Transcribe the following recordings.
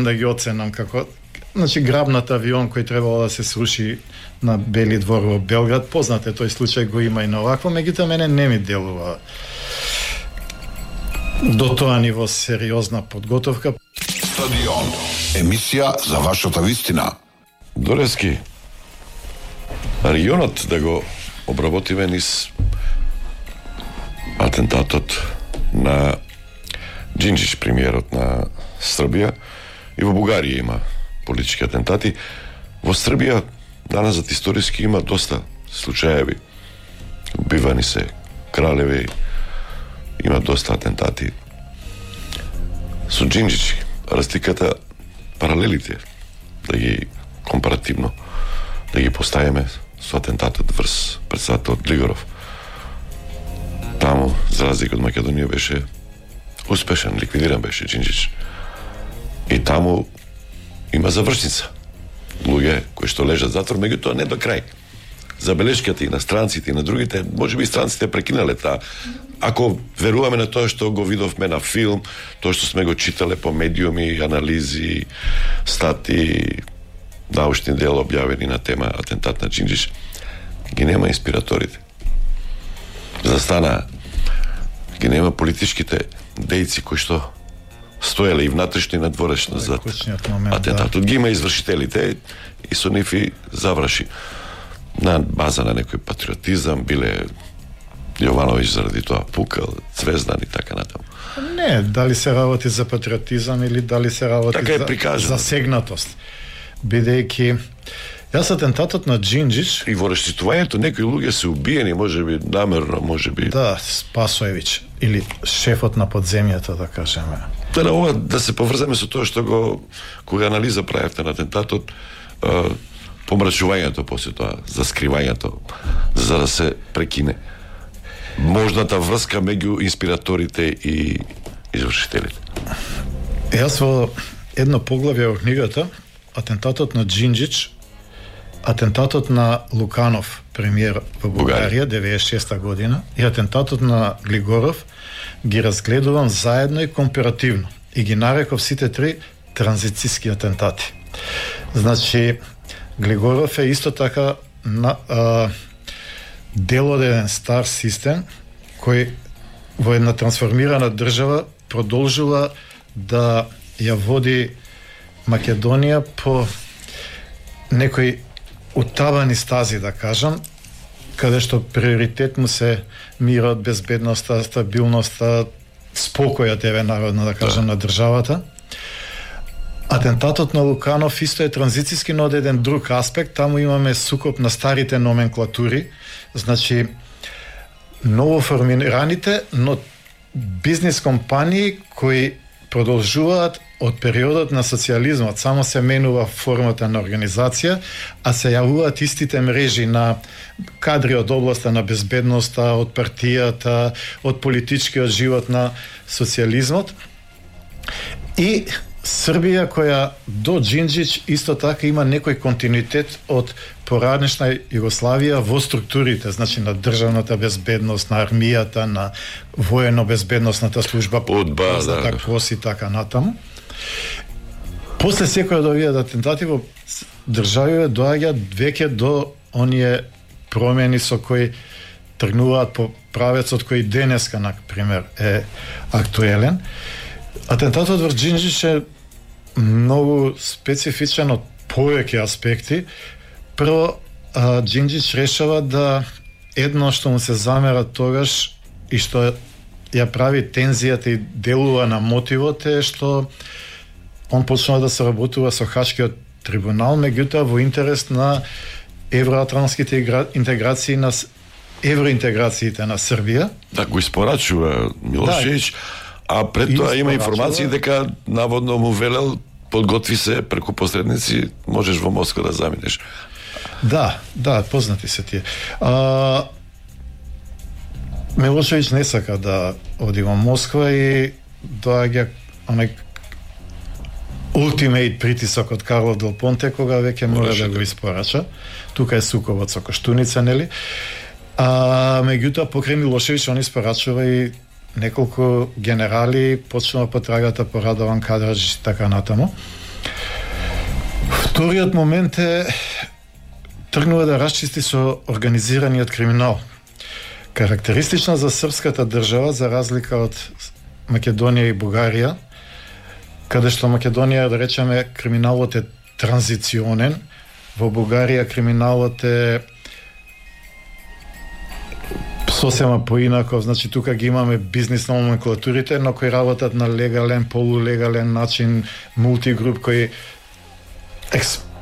да ги оценам како грабнат авион кој требало да се сруши на Бели двор во Белград. Познат е тој случај, го има и на овакво, меѓутоа мене не ми делува до тоа ниво сериозна подготовка. Стадион, емисија за вашата вистина. Дорески, регионот да го обработиме низ атентатот на Џинџич, премиерот на Србија, и во Бугарија има политички атентати. Во Србија даназад историски има доста случаеви. Убивани се кралеви, има доста атентати. Со Џинџич разликата, паралелите, да ги компаративно да ги поставиме со атентатот врз председателот Глигоров. Таму, за разлика од Македонија, беше успешен, ликвидиран беше Џинџич. И таму има завршница. Луѓе кои што лежат затвор, меѓутоа не до крај. Забелешките и на странците и на другите, можеби и странците прекинале таа. Ако веруваме на тоа што го видовме на филм, тоа што сме го читале по медиуми, анализи, стати, научни дела објавени на тема атентат на Џинџич, ги нема инспираторите. Застана, ги нема политичките дејци кои што стоеле и внатрешно и надворешно за атентатот. Ги има извршителите и со нив и заврши. На база на некој патриотизам, биле Јовановиќ заради тоа пукал, Цвездан и така натаму. Не, дали се работи за патриотизам или дали се работи така за сегнатост. Бидејќи јас атентатот на Џинџич и во рештитувањето некои луѓе се убиени, можеби намерно, можеби. Да, Спасоевиќ или шефот на подземјето, да кажеме. Да, ова да се поврземе со тоа што кога анализа правевте на атентатот, помрачувањето после тоа, заскривањето, за да се прекине можната врска меѓу инспираторите и извршителите. Јас во едно поглавје во книгата, атентатот на Џинџич, атентатот на Луканов, премиер во Бугарија, 96 година, и атентатот на Глигоров ги разгледувам заедно и компаративно. И ги нареков сите три транзицијски атентати. Значи, Глигоров е исто така дел од еден стар систем кој во една трансформирана држава продолжува да ја води Македонија по некои утабани стази, да кажам, каде што приоритет му се мирот, безбедноста, стабилноста, спокојот народно, да кажам, на државата. Атентатот на Луканов исто е транзицијски, но од еден друг аспект. Таму имаме сукоп на старите номенклатури, значи ново формираните, но бизнис компании кои продолжуваат од периодот на социјализмот, само се менува формата на организација, а се јавуваат истите мрежи на кадри од областа на безбедноста, од партијата, од политичкиот живот на социјализмот. И Србија, која до Џинџич исто така има некој континуитет од поранешна Југославија во структурите, значи на државната безбедност, на армијата, на воено-безбедносната служба, позната КОС и така натаму. После секој од овие атентати во државите доаѓа веќе до оние промени со кои тргнуваат по правецот кој денеска, на пример, е актуелен. Атентатот врз Џинџич е многу специфичен од повеќе аспекти. Прво, Џинџич решава да едно што му се замера тогаш и што ја прави тензијата и делува на мотивот е што он почнува да се работува со Хашкиот трибунал, меѓутоа во интерес на евроатлантските интеграции, на евроинтеграциите на Србија. Да, го испорачува Милошевиќ, а пред тоа има информации дека наводно му велел подготви се преку посредници, можеш во Москва да заминеш. Да, познати се тие. Милошевиќ не сака да оди во Москва и доаѓа онај ултимейт притисок од Карло Дел Понте, кога веќе мора да го испорача. Тука е сукобот со Коштуница, нели? Меѓутоа, покрај Милошевиќ, он испорачува и неколку генерали, почнува потрагата по Радован Кадраш и така натаму. Вториот момент е тргнува да расчисти со организираниот криминал. Карактеристична за српската држава, за разлика од Македонија и Бугарија, каде што Македонија, да речеме, криминалот е транзиционен, во Бугарија криминалот е сосема поинако, значи тука ги имаме бизнис номенклатурите, но кои работат на легален, полулегален начин, мултигруп кој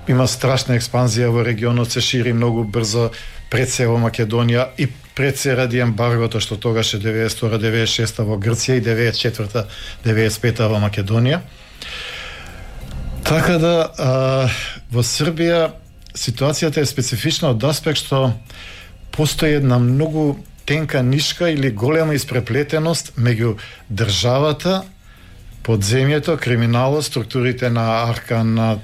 има страшна експанзија во регионот, се шири многу брзо пред се во Македонија и пред се ради ембаргото што тогаш е 92-96 во Грција и 94-95 во Македонија. Така да во Србија ситуацијата е специфична од аспект што постои една многу тенка нишка или голема испреплетеност меѓу државата, подземјето, криминалот, структурите на Аркан, на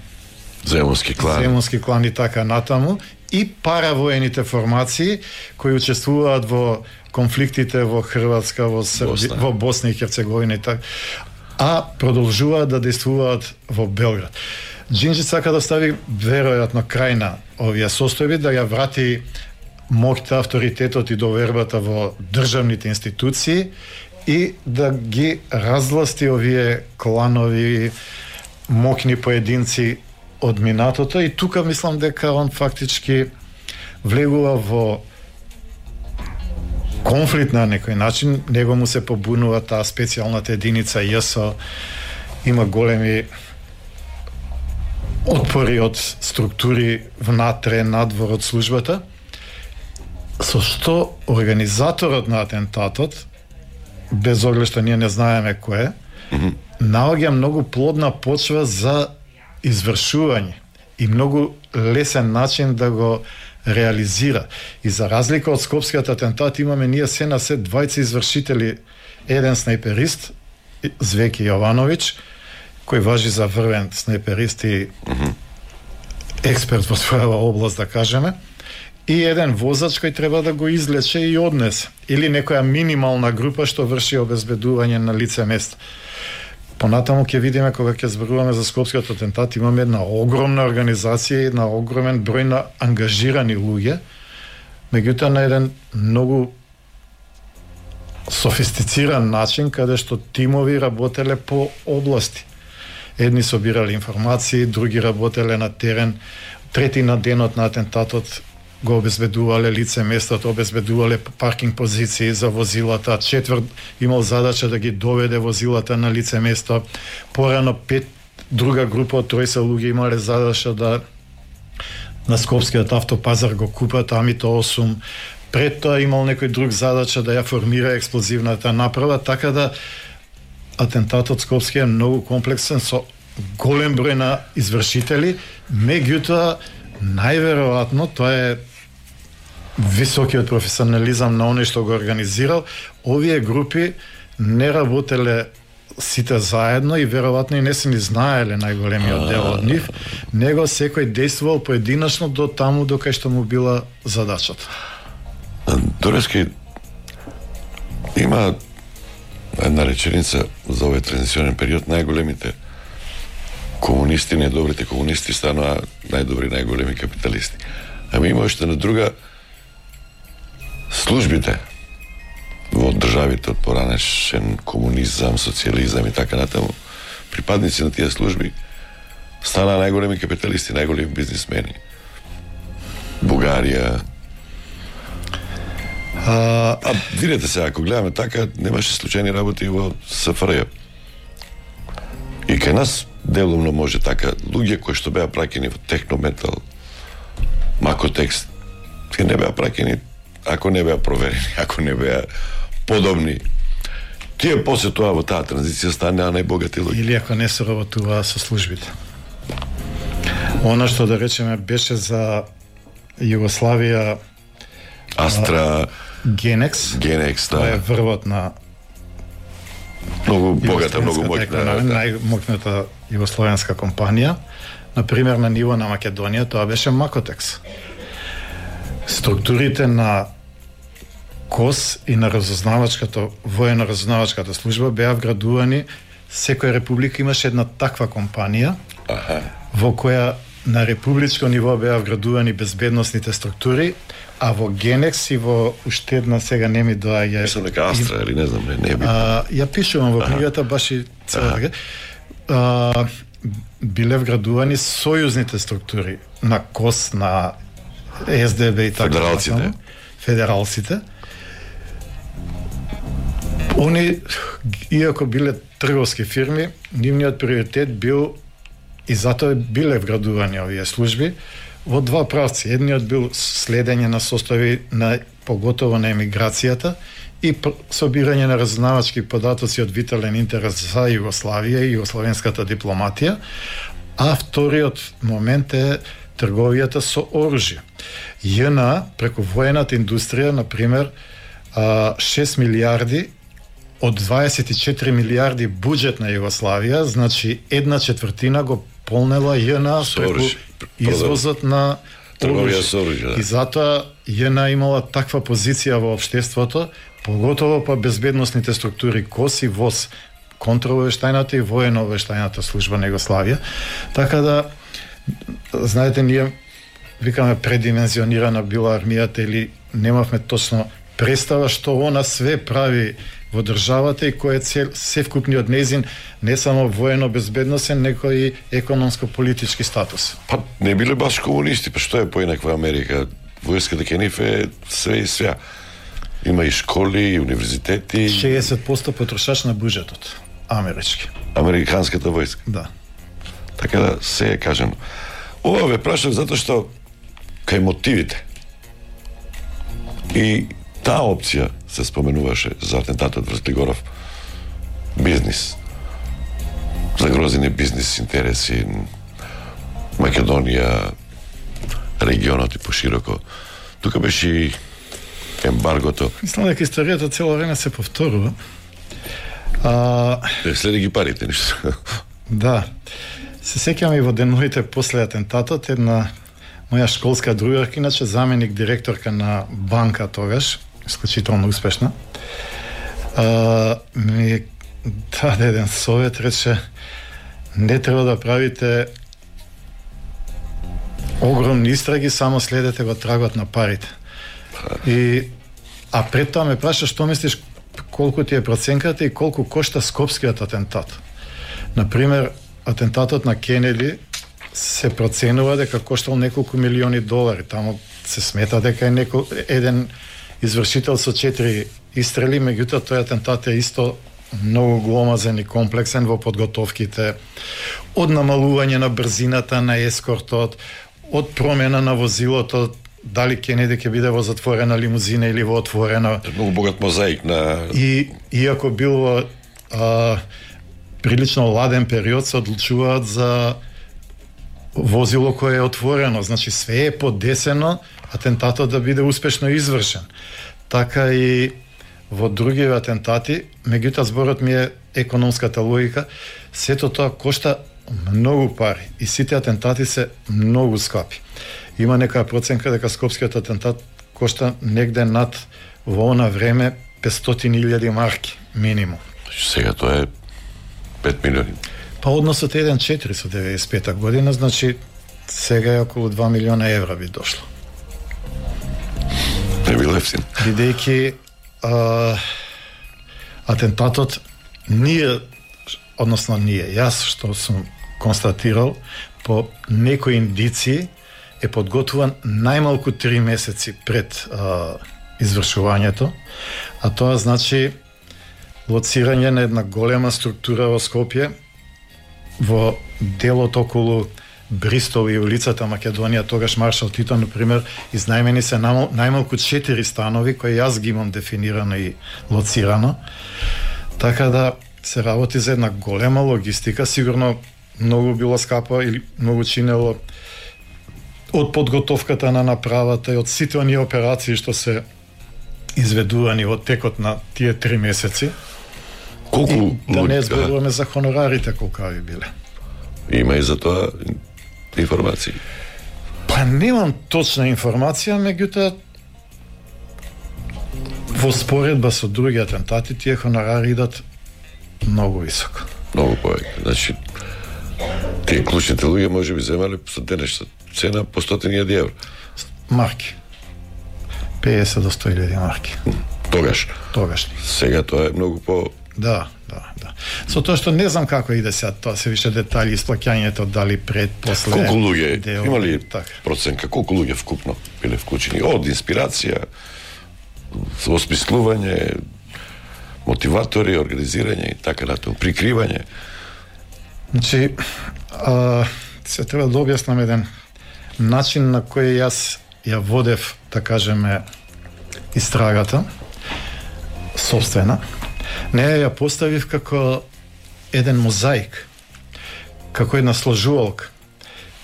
земунски клан и така натаму, и паравоените формации кои учествуваат во конфликтите во Хрватска, во Србија, во Босна и Херцеговина и така, а продолжуваат да действуваат во Белград. Џинџич сака да стави веројатно крај на овие состојби, да ја врати моќта, авторитетот и довербата во државните институции и да ги разласти овие кланови, моќни поединци од минатото, и тука мислам дека он фактички влегува во конфликт на некој начин. Него му се побунува таа специјалната единица ЈСО, има големи отпори од структури внатре, надвор од службата, со што организаторот на атентатот, без оглед што ние не знаеме кој е, наоѓа многу плодна почва за извршување и многу лесен начин да го реализира. И за разлика од скопскиот атентат, имаме ние се на се двајца извршители, еден снайперист, Звеки Јовановиќ, кој важи за врвен снайперист и експерт во својава област, да кажеме, и еден возач кој треба да го излече и однесе, или некоја минимална група што врши обезбедување на лице место. Понатаму ќе видиме, кога ќе зборуваме за скопскиот атентат, имаме една огромна организација, една огромен број на ангажирани луѓе, меѓутоа на еден многу софистициран начин, каде што тимови работеле по области. Едни собирале информации, други работеле на терен, трети на денот на атентатот го обезбедувале лице местото, обезбедувале паркинг позиции за возилата, четврт имал задача да ги доведе возилата на лице место, порано 5 друга група од тројца луѓе имале задача да на скопскиот автопазар го купат Амито 8, пред тоа имал некој друг задача да ја формира експлозивната направа, така да атентатот скопски е многу комплексен со голем број на извршители, меѓутоа најверојатно тоа е високиот професионализам на оној што го организирал. Овие групи не работеле сите заедно и веројатно и не се ни знаеле најголемиот дел од нив, него секој действувал поединечно до таму до кај што му била задачата. Дорески, има една реченица за овој транзиционен период: најголемите комунисти, најдобрите комунисти станаа најдобри, најголеми капиталисти. Ами има уште на друга, службите во државите од поранешен комунизам, социализам и така натаму, припадници на тие служби станаа најголеми капиталисти, најголеми бизнисмени. Бугарија. Видете се, ако гледаме така, немаше случајни работи во СФРЈ. И кај нас делумно може така, луѓе кои што беа праќени во технометал, макотекст, тие не беа праќени ако не беа проверени, ако не беа подобни. Тие после тоа во таа транзиција станаа најбогати луѓе. Или ако не се работуваа со службите. Она што, да речеме, беше за Југославија Астра, Генекс, да. Тоа е врвот на многу богата, многу моќна, најмоќната југословенска компанија. Например, на ниво на Македонија тоа беше Макотекс. Структурите на КОС и на воено-разузнавачката служба беа вградувани, секоја република имаше една таква компанија, во која на републичко ниво беа вградувани безбедносните структури, а во Генекс и во уште една сега не ми доаѓа. Мислам дека Астра или не знам, не би. Ја пишувам во книгата баш и цела биле вградувани сојузните структури на КОС, на СДБ и така. Федералците. Они, иако биле трговски фирми, нивниот приоритет бил, и затоа биле вградувани овие служби, во два правци. Едниот бил следење на состојби на поготово на емиграцијата и собирање на разузнавачки податоци од витален интерес за Југославија и југословенската дипломатија, а вториот момент е трговијата со оружје. ЈНА преку воената индустрија, на пример, 6 милиарди од 24 милиарди буџет на Југославија, значи 1/4 го полнела ЈНА преку извозот на оружје. И затоа ЈНА имала таква позиција во општеството, поготово па безбедносните структури КОС и ВОС, контраобавештајната и воено-обавештајната служба на Југославија. Така да, знаете, ние викаме предимензионирана била армијата или немавме точно представа што она све прави во државата и кој е севкупниот нејзин не само воено-безбедносен, него и економско-политички статус. Па не биле баш комунисти, па што е поинаква Америка? Војската ке нив е све и свја. Има и школи, и универзитети. 60% потрошач на буџетот. Амерички. Американската војска. Да. Така да се е кажано. Ова ве прашав затоа што кај мотивите и таа опција се споменуваше за атентатот врз Глигоров. Бизнис. Загрозени бизнис интереси, Македонија, регионот и пошироко. Тука беше и ембаргото. Мислам дека историјата цело време се повторува. Следи ги парите, ништо. Да. Се сеќавам и во деновите после атентатот, една моја школска другарка, иначе заменик директорка на банка тогаш, исклучително успешна, ми даде еден совет, рече, не треба да правите огромни истраги, само следете го трагот на парите. А пред тоа ме праша што мислиш колку ти е проценката и колку кошта скопскиот атентат. Например, атентатот на Кенеди се проценува дека коштал неколку милиони долари. Таму се смета дека е еден извршител со 4 истрели, меѓутоа тој атентат е исто многу гломазен и комплексен во подготовките, од намалување на брзината на ескортот, од промена на возилото, дали Кенеди ќе биде во затворена лимузина или во отворена. Многу богат мозаик на... И иако бил во прилично ладен период, се одлучуваат за возило кое е отворено. Значи све е подесено атентатот да биде успешно извршен. Така и во други атентати, меѓутоа зборот ми е економската логика, сето тоа кошта многу пари и сите атентати се многу скапи. Има некоја проценка дека скопскиот атентат кошта негде над во она време 500.000 марки минимум. Сега тоа е 5 милиони. Па односот е 1,4 со 95 година, значи сега е околу 2 милиона евра би дошло. Не бил ефтин. Бидејќи атентатот јас што сум констатирал по некои индиции е подготвуван најмалку 3 месеци пред извршувањето, а тоа значи лоцирање на една голема структура во Скопје, во делот околу Бристол и улицата Македонија, тогаш Маршал Тито, например, изнајмени се најмалку 4 станови, кои јас ги имам дефинирано и лоцирано. Така да се работи за една голема логистика, сигурно многу било скапо или многу чинело од подготовката на направата и од сите оние операции што се изведувани во текот на тие 3 месеци. Колку да не зборуваме за хонорарите колкави биле. Има и за тоа информации. Па немам точна информација, меѓутоа во споредба со други атентати тие хонорари идат многу високо. Многу повеќе. Значи Тие клучните луѓе може би земале со денешна цена по 100.000 евро. Марки. 50 до 100.000 марки. Тогаш. Сега тоа е многу по... Да. Со тоа што не знам како иде сега, тоа се више детали, исплаќањето, дали пред, после... Колку луѓе, има ли проценка, колку луѓе вкупно биле вклучени? Од инспирација, осмислување, мотиватори, организирање и така натаму, прикривање. Значи, се треба да објаснам еден начин на кој јас ја водев, да кажеме, истрагата, собствена. Не ја поставив како еден мозаик, како една сложувалка.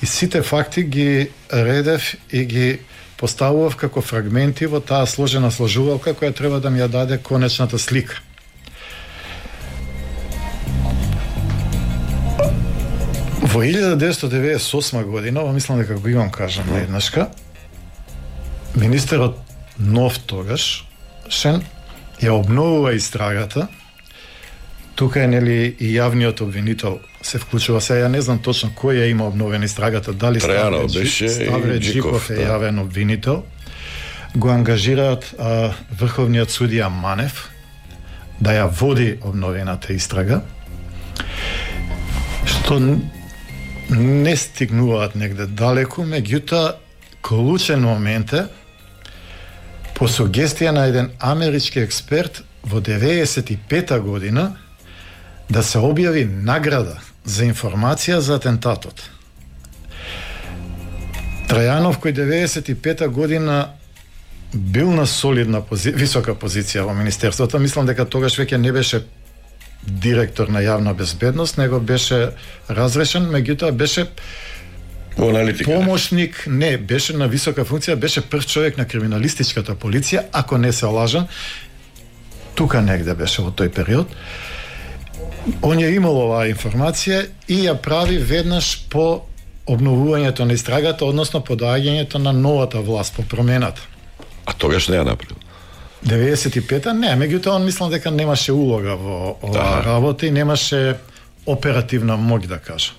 И сите факти ги редев и ги поставував како фрагменти во таа сложена сложувалка која треба да ми ја даде конечната слика. Во 1998 година, мислам дека го имам кажам на еднашка, министерот нов тогаш, Шен, ја обновува истрагата. Тука е нели и јавниот обвинител се вклучува. Сега ја не знам точно кој ја има обновена истрагата, дали Ставре Джиков е јавен обвинител. Го ангажираат врховниот судија Манев да ја води обновената истрага, што не стигнуваат негде далеку, меѓутоа клучен момент е по сугестија на еден амерички експерт во 95-та година да се објави награда за информација за атентатот. Трајанов, кој 95-та година бил на солидна висока позиција во министерството, мислам дека тогаш веќе не беше директор на јавна безбедност, него беше разрешен, меѓутоа беше помошник, не, беше на висока функција, беше прв човек на криминалистичката полиција, ако не се лажам, тука негде беше во тој период. Он ја имал оваа информација и ја прави веднаш по обновувањето на истрагата, односно по доаѓањето на новата власт, по промената. А тогаш не ја направил? 95-та не, меѓутоа он мислам дека немаше улога во оваа работа и немаше оперативна моќ, да кажам.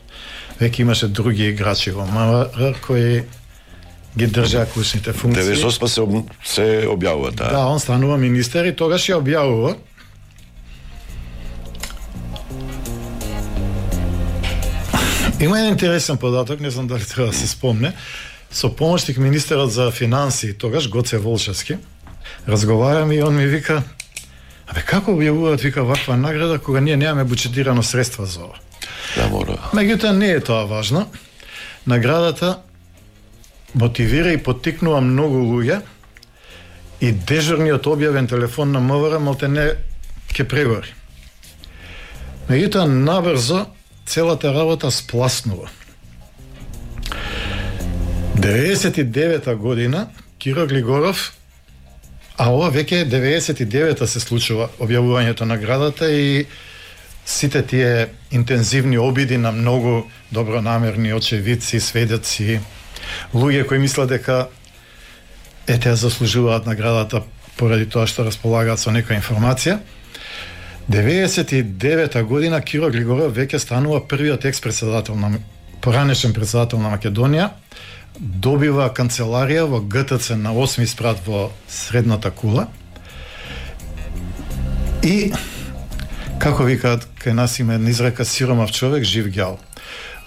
Веќе имаше други играчи во МВР кои ги држаа клучните функции. 98 се објавува таа. Да, он станува министер и тогаш ја објавува. Има еден интересен податок, не знам дали треба да се спомне. Со помошник министерот за финансии тогаш Гоце Волшевски разговараме и он ми вика: "Абе како објавуваат вика ваква награда кога ние немаме буџетирано средства за ова?" Да, мора. Меѓутоа не е тоа важно. Наградата мотивира и поттикнува многу луѓе и дежурниот објавен телефон на МВР малтене ќе прегори. Меѓутоа набрзо целата работа спласнува. 99-та година Киро Глигоров, а ова веќе 99-та се случува објавувањето на наградата и сите тие интензивни обиди на многу добронамерни очевидци, сведоци, луѓе кои мислат дека тие заслужуваат наградата поради тоа што располагаат со некоја информација. 99-та година Киро Глигоров веќе станува првиот екс-председател на поранешен председател на Македонија, добива канцеларија во ГТЦ на 8 спрат во Средната Кула и како викаат кај нас има една изрека: сиромав човек, жив ѓал.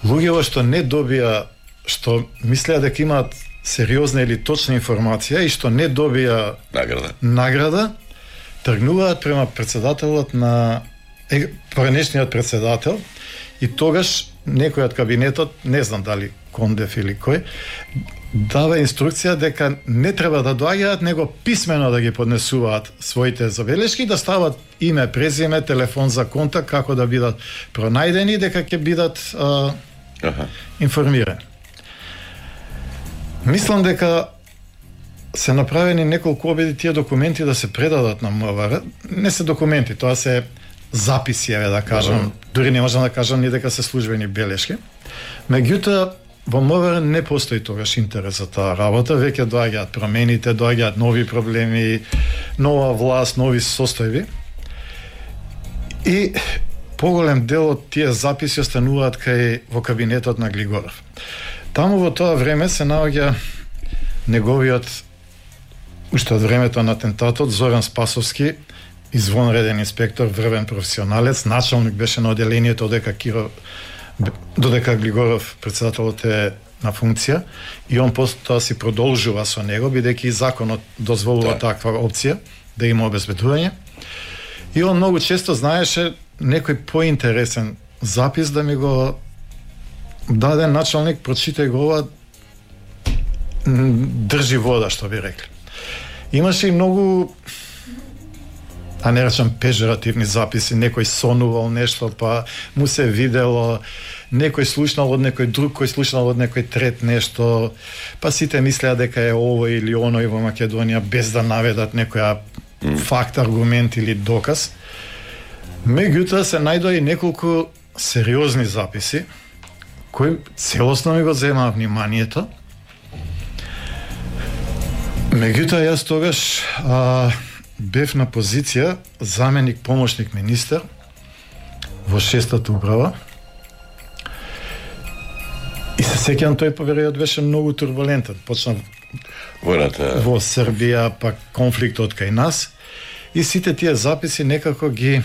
Луѓето што не добија, што мислеа дека имаат сериозна или точна информација и што не добија награда, тргнуваат према председателот на поранешниот председател и тогаш некој од кабинетот, не знам дали Кондев или кој, дава инструкција дека не треба да доаѓаат, него писмено да ги поднесуваат своите забелешки, да стават име, презиме, телефон за контакт, како да бидат пронајдени, дека ќе бидат информирани. Мислам дека се направени неколку обиди тие документи да се предадат на МВР. Не се документи, тоа се записи, да кажам, дури не можам да кажам ни дека се службени белешки. Меѓутоа, во МВР не постои тогаш интерес за таа работа, веќе доаѓаат промените, доаѓаат нови проблеми, нова власт, нови состојби. И поголем дел од тие записи остануваат кај во кабинетот на Глигоров. Таму во тоа време се наоѓа неговиот, уште од времето на атентатот, Зоран Спасовски, извонреден инспектор, врвен професионалец, началник беше на оделението додека Глигоров председателот е на функција, и он потоа си продолжува со него, бидејќи законот дозволува таква опција да има обезбедување. И он многу често знаеше некој поинтересен запис да ми го даде началник, прочитај го ова, држи вода, што би рекли. Имаше и многу, а не речам пежоративни записи, некој сонувал нешто, па му се видело, некој слушнал од некој друг, кој слушнал од некој трет нешто, па сите мислеа дека е ово или оној во Македонија, без да наведат некоја факт, аргумент или доказ. Меѓутоа се најдоа и неколку сериозни записи, кои целосно ми го земаа вниманието. Меѓутоа јас тогаш бев на позиција заменик помошник министер во 6-та управа. И се сеќавам, тој период беше многу турбулентен. Почна војната во Србија, па конфликтот кај нас. И сите тие записи некако ги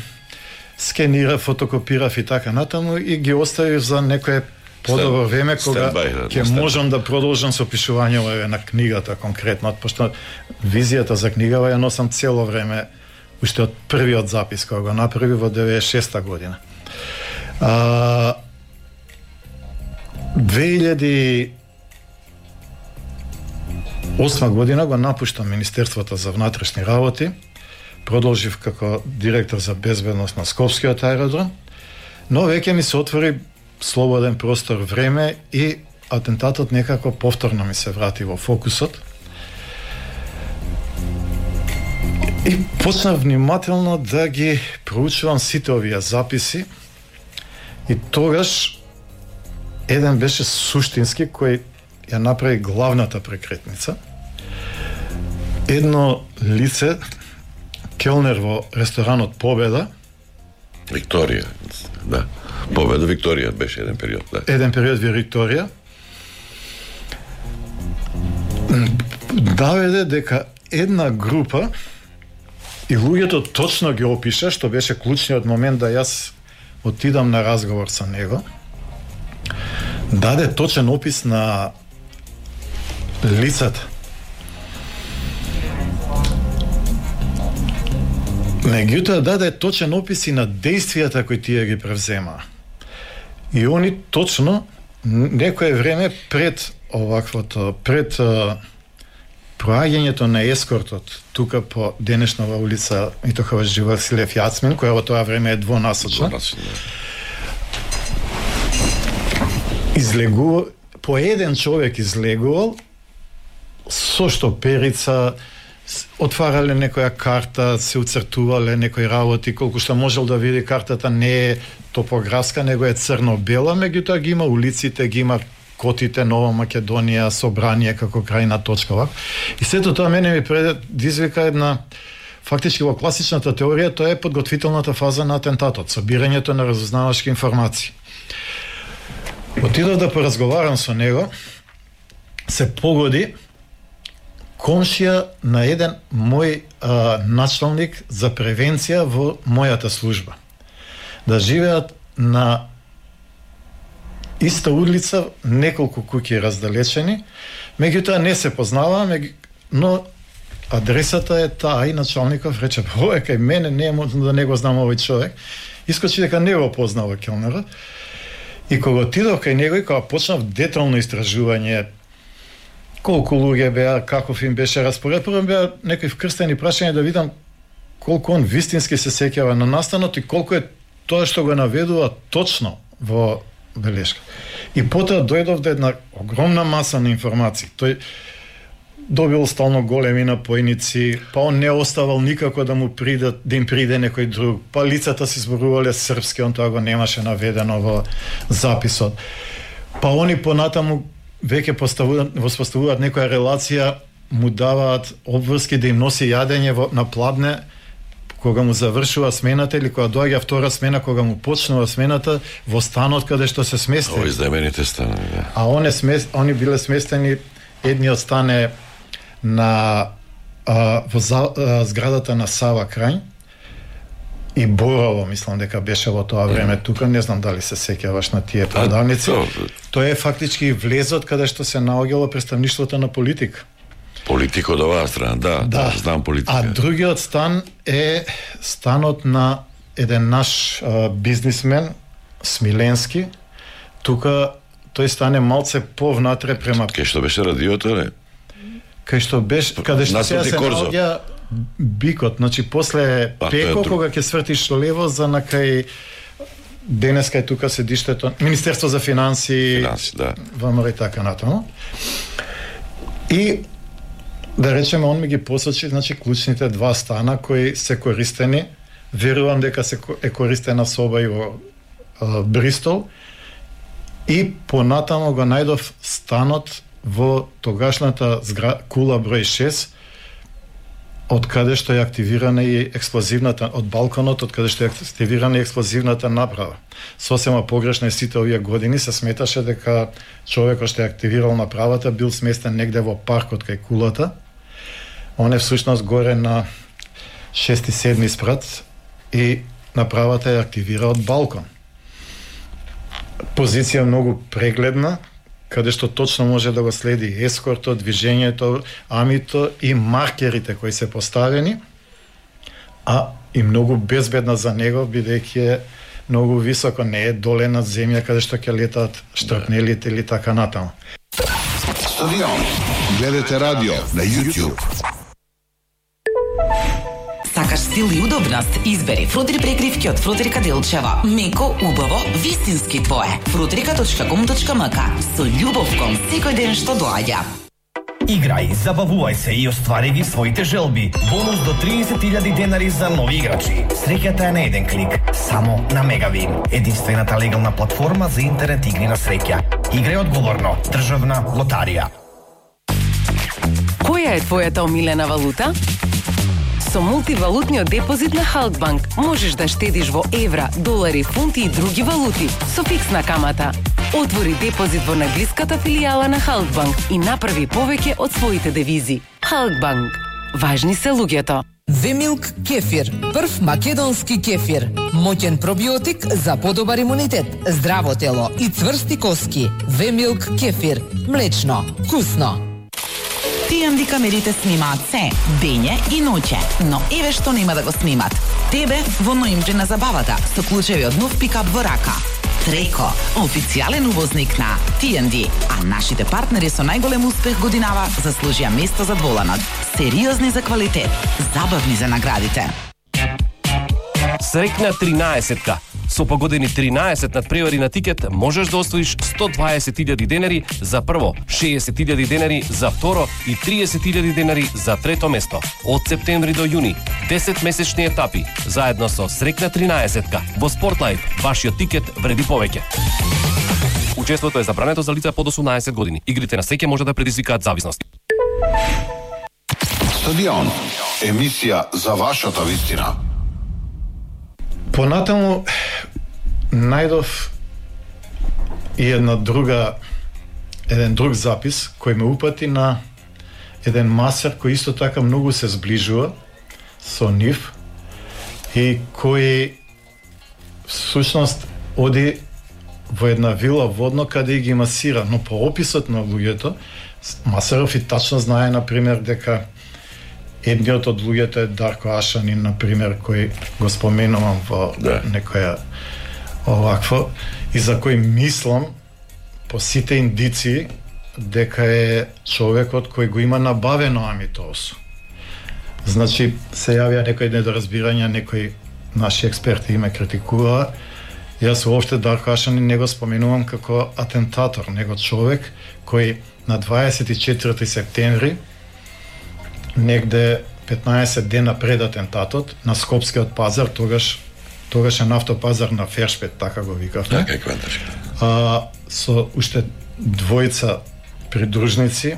скенира, фотокопирав и така натаму и ги оставив за некое подобро време кога ќе можам да продолжам со пишувањето на книгата конкретно, пошто визијата за книгава ја носам цело време уште од првиот запис кога го направи во 96-та година. 2008 година го напуштам Министерството за внатрешни работи, продолжив како директор за безбедност на Скопскиот аеродром, но веќе ми се отвори слободен простор, време и атентатот некако повторно ми се врати во фокусот. И почнав внимателно да ги проучувам сите овие записи и тогаш еден беше суштински кој ја направи главната прекретница. Едно лице, келнер во ресторанот Победа, Викторија, да. Победа Викторија беше еден период, да. Еден период во Викторија. Даведе дека една група и луѓето точно ги опиша, што беше клучниот момент да јас отидам на разговор со него. Даде точен опис на лицата. Меѓутоа даде точен опис и на действијата кои тие ги превземаа. И они точно некое време пред оваквото, пред проаѓањето на ескортот тука по денешнава улица Итохович Василев Јацмин, која во тоа време е двонасочна, излегува, по еден човек излегувал со штоперица, отварале некоја карта, се уцртувале некои работи, колку што можел да види картата не е топографска, него е црно-бела, меѓутоа ги има улиците, ги има котите, Нова Македонија, Собрание како крајна точка. И сето тоа мене ми предизвика една, фактички во класичната теорија, тоа е подготвителната фаза на атентатот, собирањето на разузнавачки информации. Отидов да поразговарам со него, се погоди комшија на еден мој началник за превенција во мојата служба. Да живеат на иста улица, неколку куќи раздалечени, меѓутоа не се познаваа, но адресата е таа и началников рече, ова кај мене, не можам да не го знам овој човек. Искочи дека не го познава келнерот. И кога отидов кај него и кога почнав детално истражување, колку луѓе беа, каков им беше распоред, прво беа некои вкрстени прашања да видам колку он вистински се сеќава на настанот и колку е тоа што го наведува точно во белешка. И потоа дојдов до една огромна маса на информации. Тој добил стално големи напојници, па он не оставал никако да му приде, да им приде некој друг, па лицата се зборувале српски, он тоа го немаше наведено во записот. Па они понатаму веќе воспоставуваат некоја релација, му даваат обврски да им носи јадење на Пладне, кога му завршува смената или кога доаѓа втора смена, кога му почнува смената во станот каде што се смести. Ови знамените станови, да. А они биле сместени, едниот стан е на зградата на Сава крај и Борово, мислам дека беше во тоа време тука, не знам дали се сеќаваш на тие продавници. Тоа е фактички влезот каде што се наоѓало представништвото на политика. Политик од оваа страна, да, знам политика. А другиот стан е станот на еден наш бизнисмен, Смиленски. Тука тој стан е малце повнатре према... Кај што беше радиото, не? Кај што беше, каде што сега се наоѓа Бикот, значи после Пеко, кога ќе свртиш лево за накај денеска е тука седиштето Министерство за финансии, да. ВМРО и така натаму. И да речеме, он ми ги посочи, значи, клучните два стана кои се користени. Верувам дека се е користена соба и во Бристол. И понатамо го најдов станот во тогашната кула број 6, од каде што е активирана и експлозивната, од балконот, од каде што е активирана и експлозивната направа. Сосема погрешно сите овие години се сметаше дека човекот што е активирал направата бил сместен негде во паркот кај кулата. Он е всушност горе на 6-7 спрат и направата е активира од балкон. Позиција многу прегледна, каде што точно може да го следи ескортот, движењето, амито и маркерите кои се поставени, а и многу безбедна за него, бидејќи е многу високо, не е доле над земја каде што ќе летаат штрапнелите или така натаму. Стадион. Гледате радио на YouTube. Сакаш стил и удобност? Избери фрутри прекривки од Фрутрика Делчева. Меко, убаво, вистински твое. frutrika.com.mk. Со љубов кон секој ден што доаѓа. Играј, забавувај се и оствари ги своите желби. Бонус до 30.000 денари за нови играчи. Среќата е на еден клик, само на Мегавин. Единствената легална платформа за интернет игри на среќа. Играј одговорно. Државна лотарија. Која е твојата омилена валута? Со мултивалутниот депозит на Халкбанк можеш да штедиш во евра, долари, фунти и други валути со фиксна камата. Отвори депозит во најблиската филијала на Халкбанк и направи повеќе од своите девизи. Халкбанк. Важни се луѓето. Вемилк кефир, прв македонски кефир. Моќен пробиотик за подобар имунитет, здраво тело и цврсти коски. Вемилк кефир, млечно, вкусно. TND камерите снимаат се, дење и ноќе, но еве што нема да го снимат. Тебе во ноември на забавата со клучеви од нов пикап во рака. Треко, официјален увозник на TND, а нашите партнери со најголем успех годинава заслужија место за дволанот. Сериозни за квалитет, забавни за наградите. Срекна 13-ка. Со погодени 13 надпревари на тикет можеш да освоиш 120.000 денари за прво, 60.000 денари за второ и 30.000 денари за трето место. Од септември до јуни, 10 месечни етапи, заедно со Срекна 13-ка. Во Спортлайф, вашиот тикет вреди повеќе. Учеството е забрането за лица под 18 години. Игрите на среќа може да предизвикаат зависност. Стадион. Емисија за вашата вистина. Понатаму најдов и еден друг запис кој ме упати на еден масер кој исто така многу се зближува со нив и кој всушност оди во една вила водно каде ги масира, но по описот на луѓето Масеров и тачно знае, например, дека едниот од луѓето е Дарко Ашанин, например, кој го споменувам во некоја овакво, и за кој мислам по сите индиции дека е човекот кој го има набавено амитоосу. Значи, се јавија некои недоразбирања, некои наши експерти ме критикуваа. Јас уопште Дарко Ашанин не го споменувам како атентатор, него човек кој на 24 септември, негде 15 дена пред атентатот, на Скопскиот пазар, тогаш е нафтопазар на Фершпет, така го викавме. Така е кванташка. Со уште двојца придружници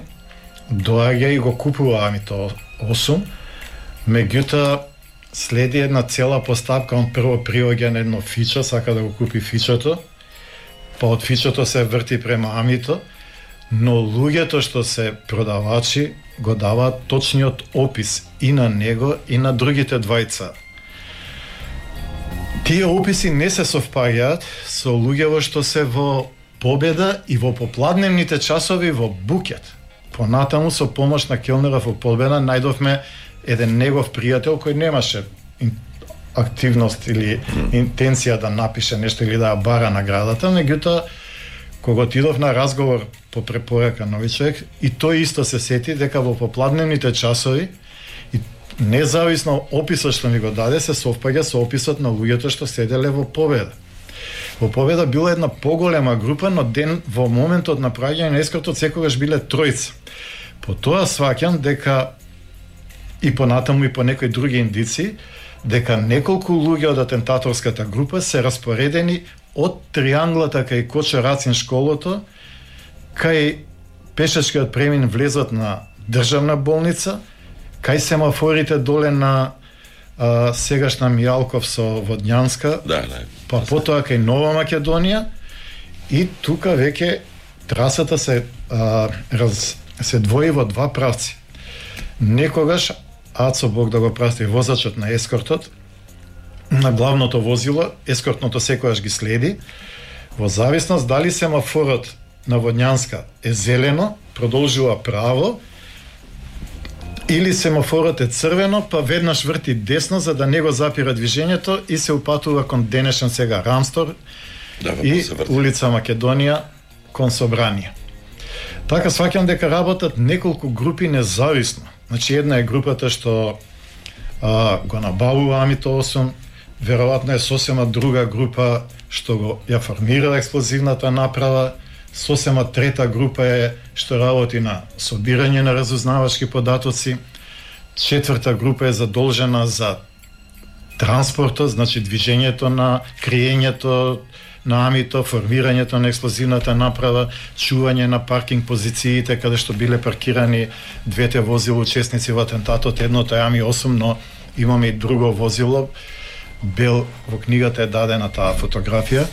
доаѓа и го купува амитоосум, меѓутоа следи една цела постапка, он прво приоѓа на едно фичо, сака да го купи фичото, па од фичото се врти према амито, но луѓето што се продавачи го даваат точниот опис и на него и на другите двајца. Тие описи не се совпаѓаат со луѓево што се во Победа и во попладневните часови во Букет. Понатаму со помош на келнера во Победа најдовме еден негов пријател кој немаше активност или интенција да напише нешто или да ја бара наградата, меѓутоа кога отидов на разговор по препорака на овој човек, и тој исто се сети дека во попладневните часови и независно описот што ми го даде се совпаѓа со описот на луѓето што седеле во Победа. Во Победа била една поголема група, но во моментот на праѓање на ескортот секогаш биле тројца. По тоа сваќам дека и понатаму и по некои други индици, дека неколку луѓе од атентаторската група се распоредени од трианглата кај Кочо Рацин школото, кај пешачкиот премин влезот на државна болница, кај семафорите доле на сегашна Мијалков со Водњанска, па потоа кај Нова Македонија, и тука веќе трасата се двои во два правци. Некогаш Ацо Бог да го прости, возачот на ескортот на главното возило, ескортното секогаш ги следи, во зависност дали семафорот на Водњанска е зелено, продолжува право, или семафорот е црвено, па веднаш врти десно за да не го запира движењето и се упатува кон денешен сега Рамстор и улица Македонија кон Собранија. Така сваќам дека работат неколку групи независно. Значи една е групата што го набавува Амито 8, веројатно е сосема друга група што го ја формира експлозивната направа, сосема трета група е што работи на собирање на разузнавачки податоци, четврта група е задолжена за транспортот, значи движењето на криењето на Амито, формирањето на експлозивната направа, чување на паркинг позициите каде што биле паркирани двете возила учесници во атентатот, едното е Ами 8, но имаме и друго возило, бел, во книгата е дадена таа фотографија,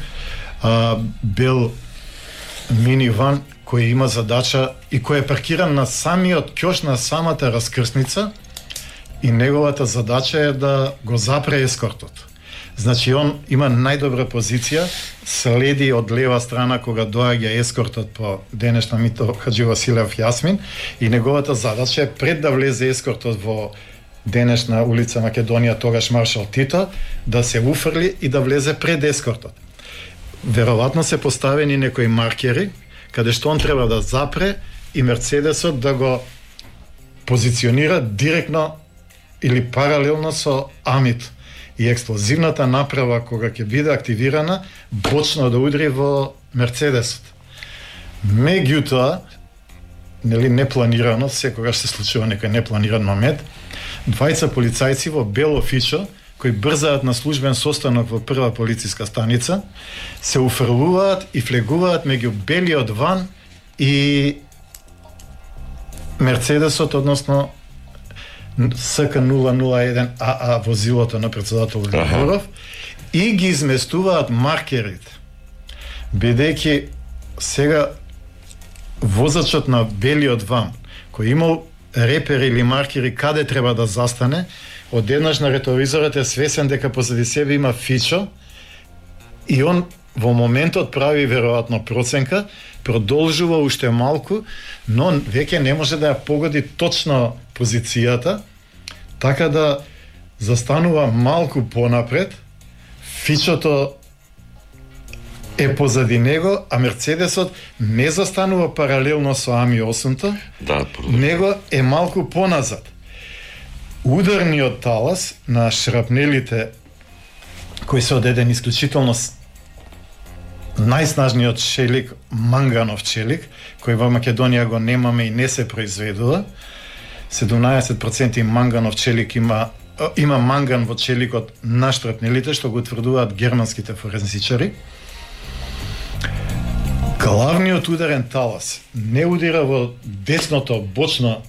бел миниван кој има задача и кој е паркиран на самиот ќош на самата раскрсница и неговата задача е да го запре ескортот. Значи он има најдобра позиција, следи од лева страна кога доаѓа ескортот по денешна Мито Хаджи Василев Јасмин и неговата задача е пред да влезе ескортот во денешна улица Македонија, тогаш Маршал Тито, да се уфрли и да влезе пред ескортот. Веројатно се поставени некои маркери каде што он треба да запре и Мерцедесот да го позиционира директно или паралелно со Амит. И експлозивната направа кога ќе биде активирана бочно да удри во Мерцедесот. Меѓутоа, нели непланирано, секогаш се случува некој непланиран момент, двајца полицајци во бело фичо кои брзаат на службен состанок во прва полициска станица, се уфрлуваат и флегуваат меѓу белиот ван и Мерцедесот, односно СК-001 АА возилото на председател Григоров и ги изместуваат маркерите. Бидејќи сега возачот на белиот ван, кој имал репери или маркери каде треба да застане, одеднаш на ретровизорот е свесен дека позади себе има фичо и он во моментот прави веројатно проценка, продолжува уште малку, но веќе не може да ја погоди точно позицијата, така да застанува малку понапред, фичото е позади него, а Мерцедесот не застанува паралелно со Ами 8-то, него е малку поназад. Ударниот талас на шрапнелите кои се од еден исклучително најснажниот челик, манганов челик, кој во Македонија го немаме и не се произведува. 17% манганов челик има манган во челикот на штрапнелите, што го утврдуваат германските форензичари. Главниот ударен талас не удира во десното бочно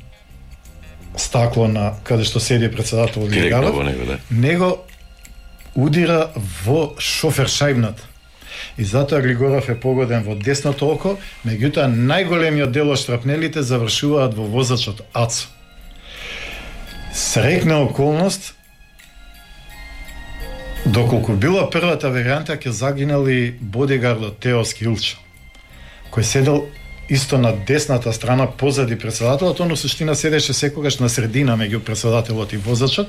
стакло на каде што седи председател Директно во него, да. него удира во шофер шајбната. И затоа Григоров е погоден во десното око, меѓутоа најголемиот дел од штрапнелите завршуваат во возачот Ацо. Среќна околност, доколку била првата варијанта, ќе загинал и бодигардот Теоски Илчо, кој седел исто на десната страна позади председателот, он во суштина седеше секогаш на средина меѓу председателот и возачот,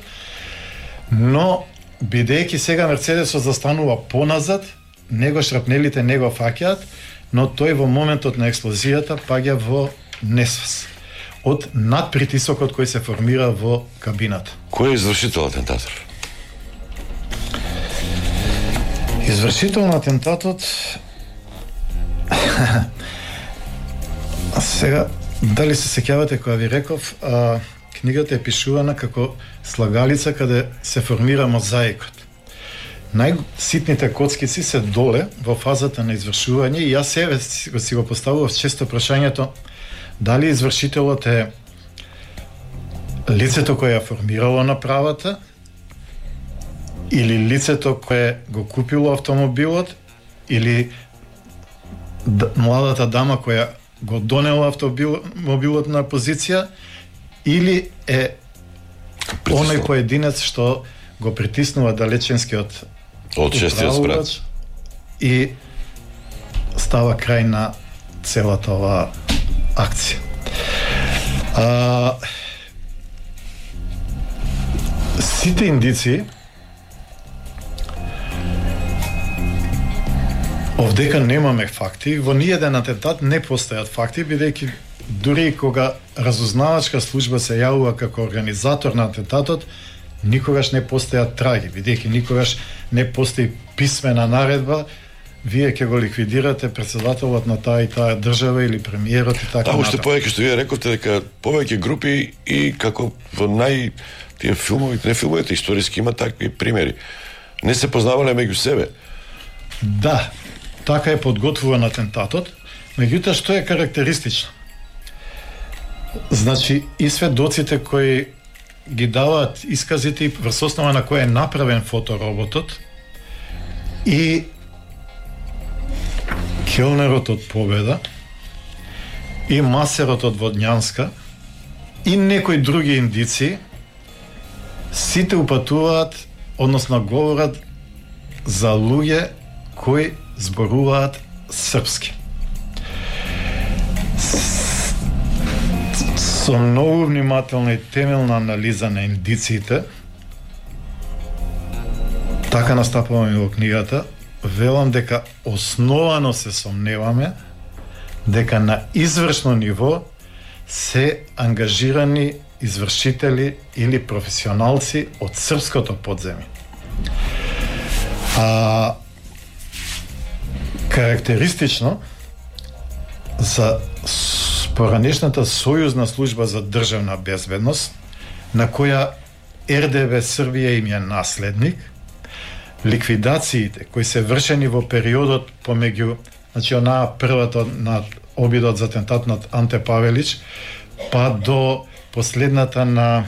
но бидејќи сега Мерцедесот застанува поназад, него шрапнелите не го фаќаат, но тој во моментот на експлозијата паѓа во несвес од надпритисокот кој се формира во кабината. Кој е извршител атентатор? Извршител на атентатот сега, дали се сеќавате кога ви реков, книгата е пишувана како слагалица каде се формира мозаикот. Најситните коцкици се доле во фазата на извршување и јас себе си го поставував често прашањето дали извршителот е лицето кое ја формирало направата или лицето кое го купило автомобилот или младата дама која го донела автомобилот на позиција или е оној поединец што го притиснува далеченскиот од 6 спрат и става крај на целата оваа акција. Сите индици овдека немаме факти, во ниеден атентат не постојат факти, бидејќи дури и кога разузнавачка служба се јавува како организатор на атентатот, никогаш не постојат траги, бидејќи никогаш не постои писмена наредба, вие ќе го ликвидирате председателот на таа и таа држава или премиерот и така натаму. Уште повеќе што вие рековте дека повеќе групи и како во тие филмови, не филмовите историски има такви примери. Не се познавале меѓу себе. Да, така е подготвуван атентатот, меѓутоа што е карактеристично? Значи, и сведоците кои ги даваат исказите и врз основа на кој е направен фотороботот и келнерот од Победа и масерот од Водњанска и некои други индици, сите упатуваат, односно говорат за луѓе кои зборуваат српски. Со многу внимателна и темелна анализа на индициите, така настапуваме во книгата, велам дека основано се сомневаме дека на извршно ниво се ангажирани извршители или професионалци од српското подземје. Карактеристично за поранешната Сојузна служба за државна безбедност, на која РДБ Србија им е наследник, ликвидациите кои се вршени во периодот помеѓу, значи онаа првата на обидот за атентат над Анте Павелич, па до последната на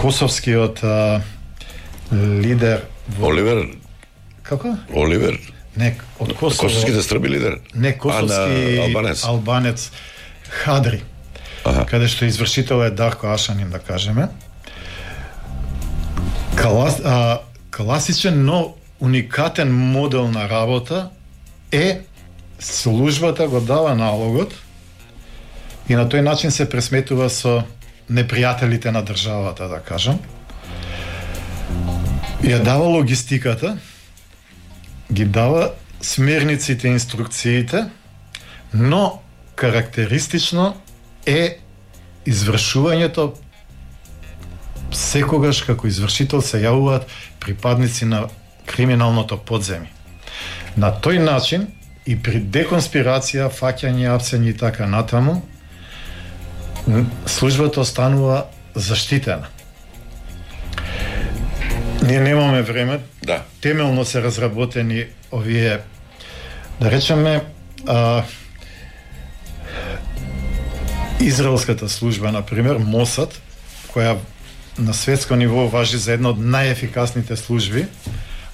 косовскиот лидер Оливер. Како? Оливер. Не, од Косово. Косовските срби лидер? Не, косовски албанец Хадри. Каде што извршител е Дарко Ашанин, да кажеме. Класичен, но уникатен модел на работа е службата го дава налогот и на тој начин се пресметува со непријателите на државата, да кажам. Ја дава логистиката, ги дава смерниците и инструкциите, но карактеристично е извршувањето. Секогаш како извршител се јавуваат припадници на криминалното подземје. На тој начин и при деконспирација, фаќање, апсење и така натаму, службата останува заштитена. Ние немаме време, да. Темелно се разработени овие, да речеме, израелската служба, например, Мосад, која на светско ниво важи за една од најефикасните служби,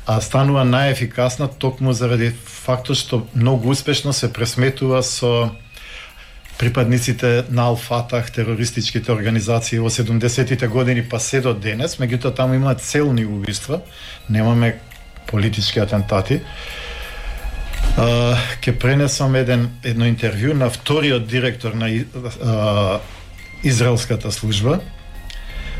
а станува најефикасна токму заради фактот што многу успешно се пресметува со припадниците на Ал-Фатах, терористичките организации во 70-тите години па се до денес, меѓутоа таму имаат целни убиства, немаме политички атентати. Ке пренесам едно интервју на вториот директор на израелската служба,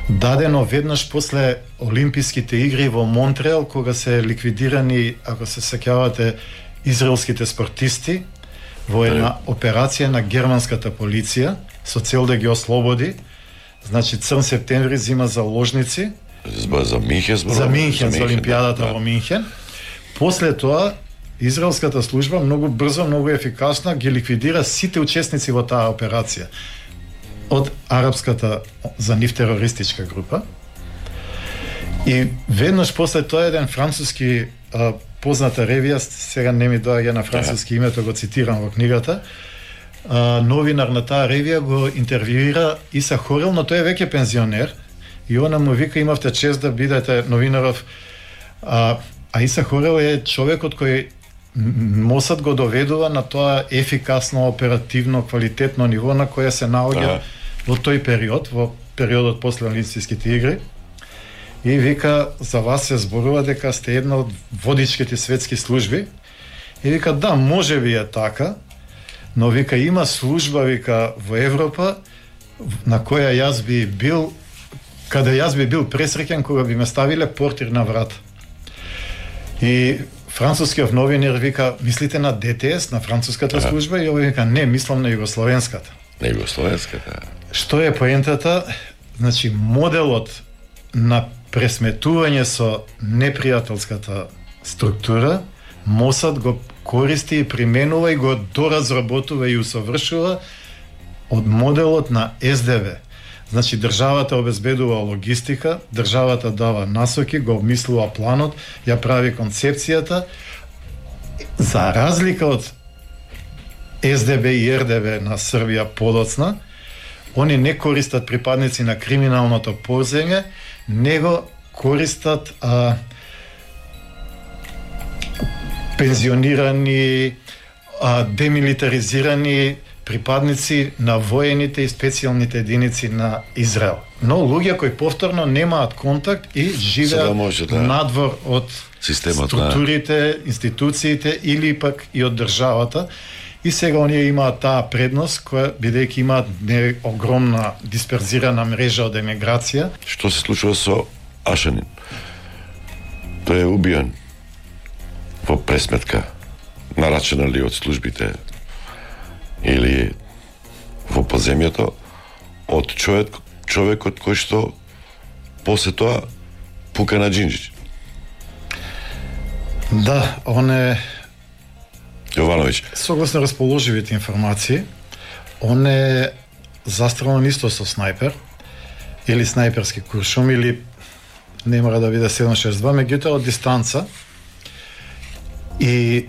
дадено веднаш после Олимписките игри во Монтреал, кога се ликвидирани, ако се сеќавате, израелските спортисти во една операција на германската полиција со цел да ги ослободи. Значи Црн септември зима заложници за Минхен, за Олимпијадата во Минхен. После тоа израелската служба многу брзо, многу ефикасно ги ликвидира сите учесници во таа операција од арапската за нив терористичка група. И веднаш после тоа еден француски позната ревија, сега не ми доаѓа на француски името, го цитирам во книгата, новинар на таа ревија го интервјуира Иса Хорел, но тој е веќе пензионер и она му вика: имавте чест да бидете новинаров. А Иса Хорел е човекот кој Мосад го доведува на тоа ефикасно, оперативно, квалитетно ниво на кое се наоѓа во тој период, во периодот после Олимписките игри. И вика: за вас се зборува дека сте една од водичките светски служби. И вика: да, може би е така, но вика има служба, вика, во Европа на која јас би бил, каде јас би бил пресреќен кога би ме ставиле портир на врат. И францускиот новинар вика: мислите на ДТС, на француската служба? И овој вика: не, мислам на југословенската. На југословенската. Што е поентата? Значи, моделот на пресметување со непријателската структура, Мосад го користи и применува и го доразработува и усовршува од моделот на СДВ. Значи, државата обезбедува логистика, државата дава насоки, го обмислува планот, ја прави концепцијата, за разлика од СДБ и РДВ на Србија подоцна, они не користат припадници на криминалното позење, него користат пензионирани, демилитаризирани припадници на воените и специјалните единици на Израел. Но луѓе кои повторно немаат контакт и живеат надвор од системот, структурите, институциите или пак и од државата. И сега оние имаат таа предност, која бидејќи имаат огромна дисперзирана мрежа од емиграција. Што се случува со Ашанин? Тој е убиен во пресметка, нарачена ли од службите или во подземјето од човекот кој што после тоа пука на Џинџич. Да, он е Јовановиќ. Согласно расположивите информации, он е застрелен исто со снајпер или снајперски куршум или не мора да биде 762, меѓутоа од дистанца. И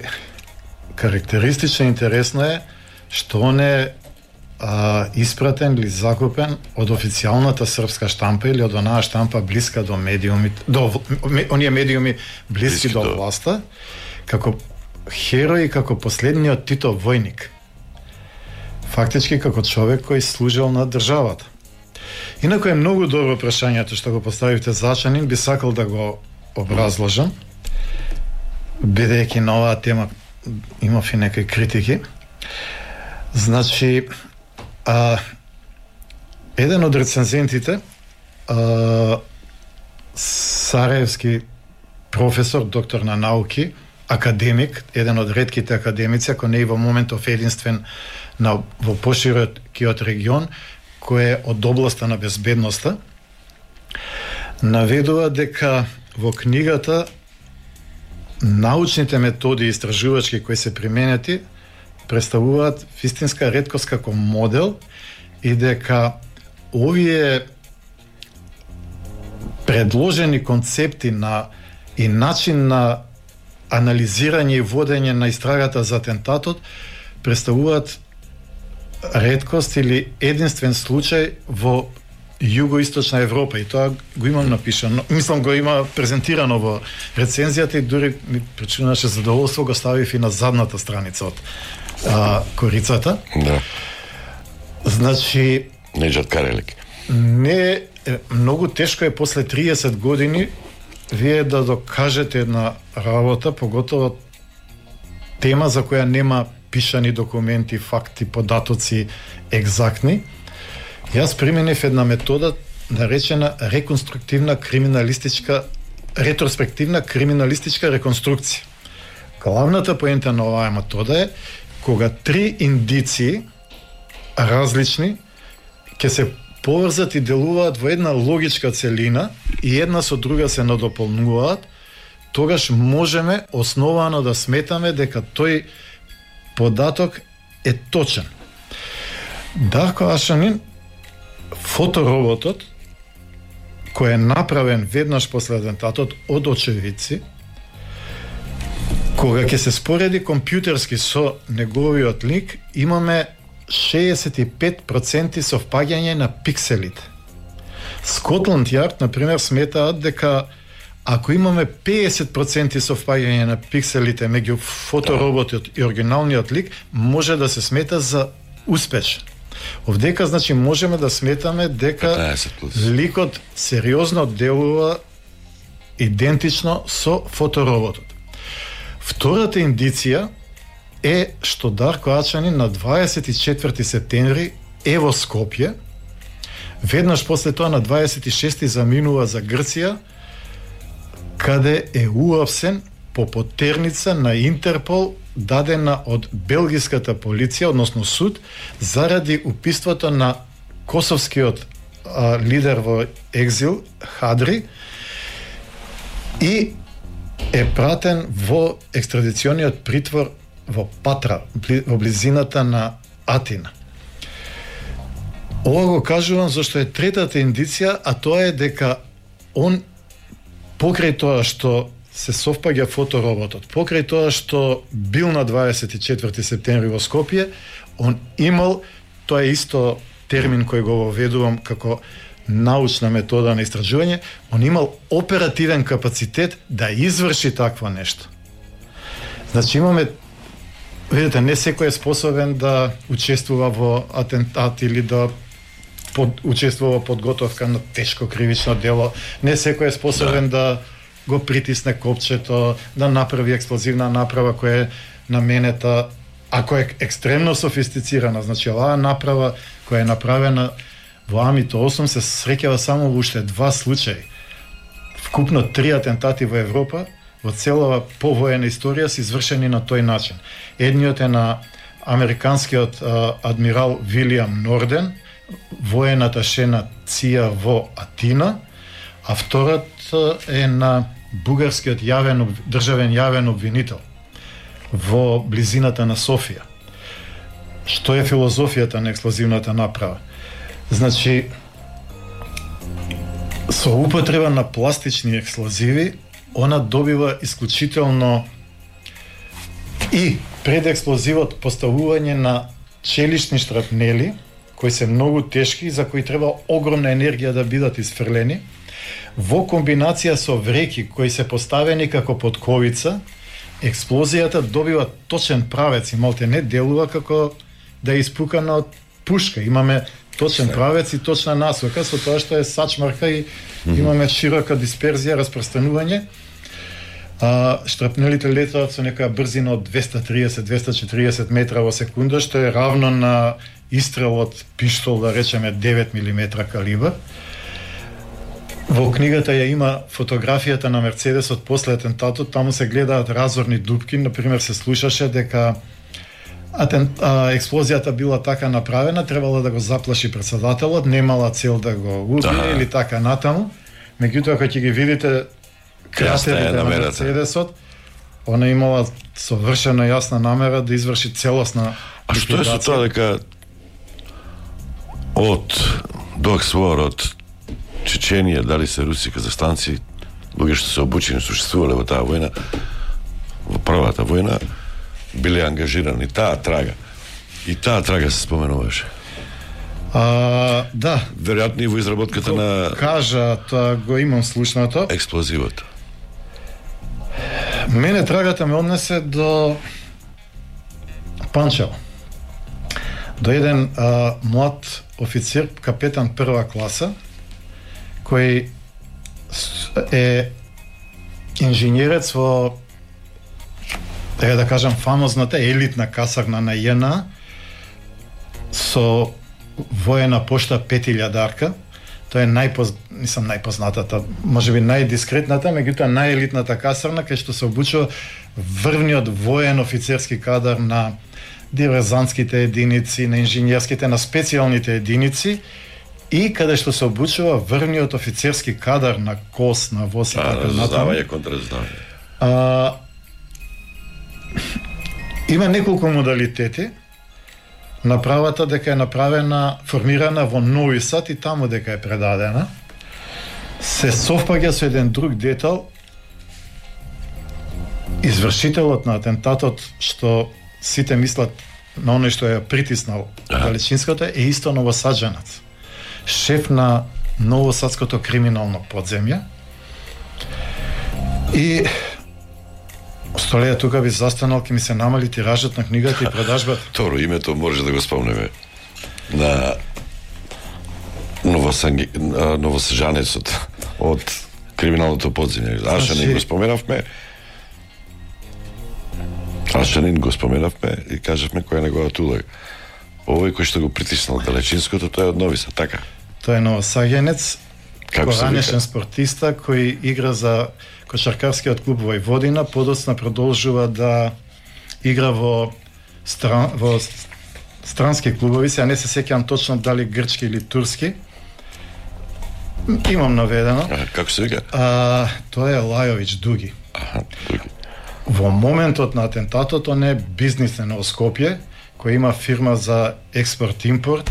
карактеристично интересно е што он е испратен или закупен од официјалната српска штампа или од онаа штампа блиска до медиумите, оние медиуми блиски до власта, како херој, како последниот Титов војник. Фактички како човек кој служел на државата. Инаку е многу добро прашањето што го поставивте за Ашанин, би сакал да го образложам, бидејќи на оваа тема имав и некои критики. Значи, еден од рецензентите, сараевски професор, доктор на науки, академик, еден од ретките академици, ако не и во моментов единствен во поширокиот регион, кој е од областа на безбедноста, наведува дека во книгата научните методи истражувачки кои се применети представуваат вистинска реткост како модел и дека овие предложени концепти на и начин на анализирање и водење на истрагата за атентатот представуваат реткост или единствен случај во југоисточна Европа, и тоа го имам напишано, мислам го има презентирано во рецензијата, и дури ми причинуваше задоволство, го ставив и на задната страница од корицата. Да. Значи, Неџат Карелик. не многу тешко е после 30 години вие да докажете една работа, поготово тема за која нема пишани документи, факти, податоци екзактни. Јас применив една метода наречена ретроспективна криминалистичка реконструкција. Главната поента на оваа метода е кога три индиции различни ќе се поврзат и делуваат во една логичка целина и една со друга се надополнуваат, тогаш можеме основано да сметаме дека тој податок е точен. Дарко Ашанин, фотороботот, кој е направен веднаш после атентатот од очевидци, кога ќе се спореди компјутерски со неговиот лик, имаме 65% совпаѓање на пикселите. Скотланд Јард, например, сметаат дека ако имаме 50% совпаѓање на пикселите меѓу фотороботот и оригиналниот лик, може да се смета за успешен. Овдека, значи, можеме да сметаме дека ликот сериозно делува идентично со фотороботот. Втората индиција е што Дарко Ачанин на 24 септември е во Скопје, веднаш после тоа на 26 заминува за Грција, каде е уапсен по потерница на Интерпол дадена од белгиската полиција, односно суд, заради убиството на косовскиот лидер во екзил Хадри, и е пратен во екстрадициониот притвор во Патра, во близината на Атина. Ова го кажувам зашто е третата индиција, а тоа е дека он, покрај тоа што се совпаѓа фотороботот, покрај тоа што бил на 24 септември во Скопје, он имал, тоа е исто термин кој го воведувам како научна метода на истражување, он имал оперативен капацитет да изврши такво нешто. Значи имаме, видите, не секој е способен да учествува во атентат или да учествува во подготовка на тешко кривично дело, не секој е способен да го притисне копчето, да направи експлозивна направа која е наменета, ако е екстремно софистицирана. Значи оваа направа која е направена во Амито 8 се среќава само во уште 2 случаи. Вкупно 3 атентати во Европа во целава повоена историја се извршени на тој начин. Едниот е на американскиот адмирал Вилијам Норден, воен аташе на ЦИА во Атина, а вториот е на бугарскиот државен јавен обвинител во близината на Софија. Што е филозофијата на експлозивната направа? Значи, со употреба на пластични експлозиви, она добива исклучително и пред експлозивот поставување на челични штрапнели, кои се многу тешки, за кои треба огромна енергија да бидат изфрлени, во комбинација со вреки кои се поставени како подковица, експлозијата добива точен правец и малте не делува како да е испукана од пушка. Имаме точен правец и точна насока, со тоа што е сачмарка и имаме широка дисперзија, распространување. Штрапнелите летаат со некоја брзина од 230-240 метра во секунда, што е равно на истрел од пиштол, да речеме 9 мм калибар. Во книгата ја има фотографијата на Мерцедесот после атентатот, таму се гледаат разорни дупки, например се слушаше дека експлозијата била така направена, требало да го заплаши претседателот, немала цел да го убие или така натаму. Меѓутоа, кога ќе ги видите кратерите на Мерцедесот, она имала совршено јасна намера да изврши целосна ликвидација. А што е со тоа дека од Доксвор, од Чеченија, дали се руси казахстанци, луѓе што се обучени, существувале во таа војна, во првата војна, биле ангажирани. Таа трага се споменуваше. Да. Веројатно и во изработката на Кажа, тоа го имам слушнато. експлозивот. Мене трагата ме однесе до Панчево. До еден млад офицер, капетан прва класа, кој е инженерец во, да кажам, фамозната елитна касарна на ЈНА со воена пошта 5000-дарка. Тоа е најпознатата, можеби најдискретната, меѓутоа најелитната касарна кај што се обучува врвниот воен офицерски кадар на диверзантските единици, на инженерските, на специјалните единици и каде што се обучува врвниот офицерски кадар на КОС, на ВОС и така натаму. Разузнавање, контраразузнавање. Има неколку модалитети. Направата дека е направена, формирана во Нови Сад и таму дека е предадена, се совпаѓа со еден друг детал. Извршителот на атентатот, што сите мислат на оној што ја притиснал Далечинската, е исто новосаджанец. Шеф на новосадското криминално подземје. И Столеја, тука би застанал, ке ми се намали тиражот на книгата и продажбата. Торо, името може да го спомнеме на новосаджанецот од криминалното подземје. Ашанин го споменавме и кажавме кој е неговата улога. Овој кој што го притиснал Далечинското, тоа е од Нови Сад, така? Тоа е новосаѓенец, Коранешен спортиста кој игра за кошаркарскиот клуб Војводина, подоцна продолжува да игра во странски клубови, сега не се сеќавам точно дали грчки или турски. Имам наведено. Како се вика? Тоа е Лајович Дуги. Дуги. Во моментот на атентатот он е бизнисмен во Скопје, кој има фирма за експорт-импорт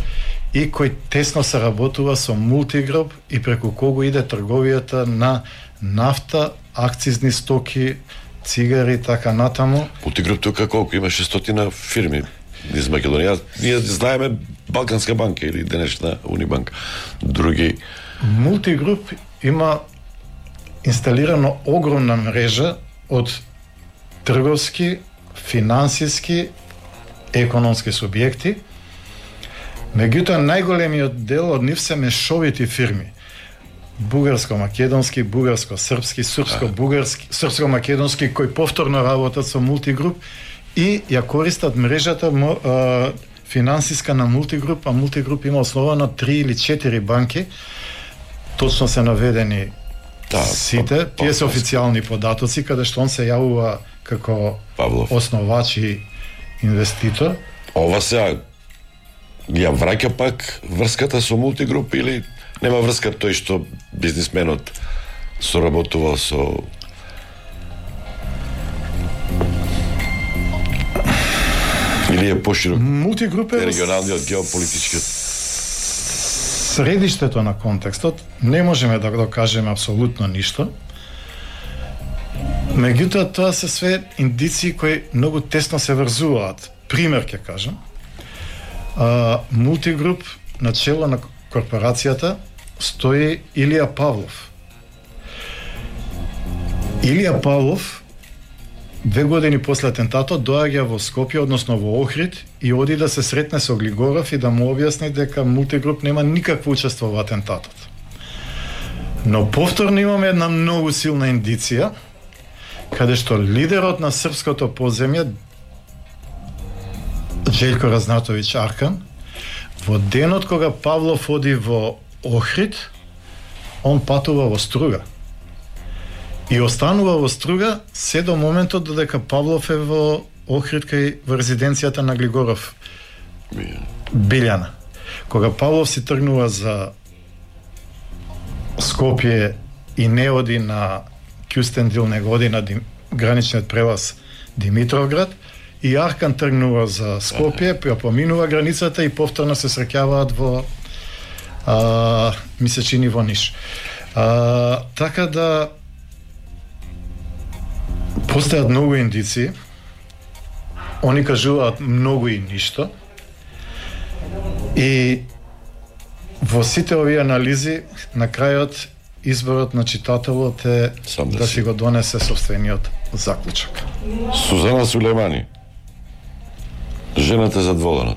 и кој тесно се работува со Мултигруп и преку кого иде трговијата на нафта, акцизни стоки, цигари, така натаму. Мултигруп тука колку? Има 600 фирми из Македонија. Ние знаеме Балканска банка или денешна Унибанка. Други... Мултигруп има инсталирано огромна мрежа од трговски, финансиски, економски субјекти. Меѓутоа, најголемиот дел од нив се мешовити фирми. Бугарско-македонски, бугарско-српски, српско-бугарски, српско-македонски, кои повторно работат со Мултигруп и ја користат мрежата финансиска на Мултигруп, а Мултигруп има основано 3 или 4 банки, точно се наведени сите, тие се официјални податоци, каде што он се јавува како основач и инвеститор. Ова сега ја враќа пак врската со Мултигруп или нема врска тој што бизнисменот соработувал со или е поширок Мултигруп е регионалниот геополитички средиштето на контекстот. Не можеме да го кажеме апсолутно ништо. Меѓутоа, тоа се све индиции кои многу тесно се врзуваат. Пример ќе кажам. Мултигруп на чело на корпорацијата стои Илија Павлов. Илија Павлов 2 години после атентатот доаѓа во Скопје, односно во Охрид, и оди да се сретне со Глигоров и да му објасни дека Мултигруп нема никакво учество во атентатот. Но повторно имаме една многу силна индиција, каде што лидерот на српското подземје, Желјко Разнатовиќ Аркан, во денот кога Павлов оди во Охрид, он патува во Струга. И останува во Струга се до моментот додека Павлов е во Охрид кај во резиденцијата на Глигоров Билјана. Кога Павлов си тргнува за Скопје и не оди на Кюстендил, него оди на граничниот прелаз Димитровград, и Аркан тргнува за Скопје, ја поминува границата и повторно се среќаваат во ми се чини во Ниш. Така да постојат многу индиции. Они кажуваат многу и ништо. И Во сите овие анализи, на крајот, изборот на читателот е Сам да си го донесе собствениот заклучок. Сузана Сулеймани. Жената задоволена.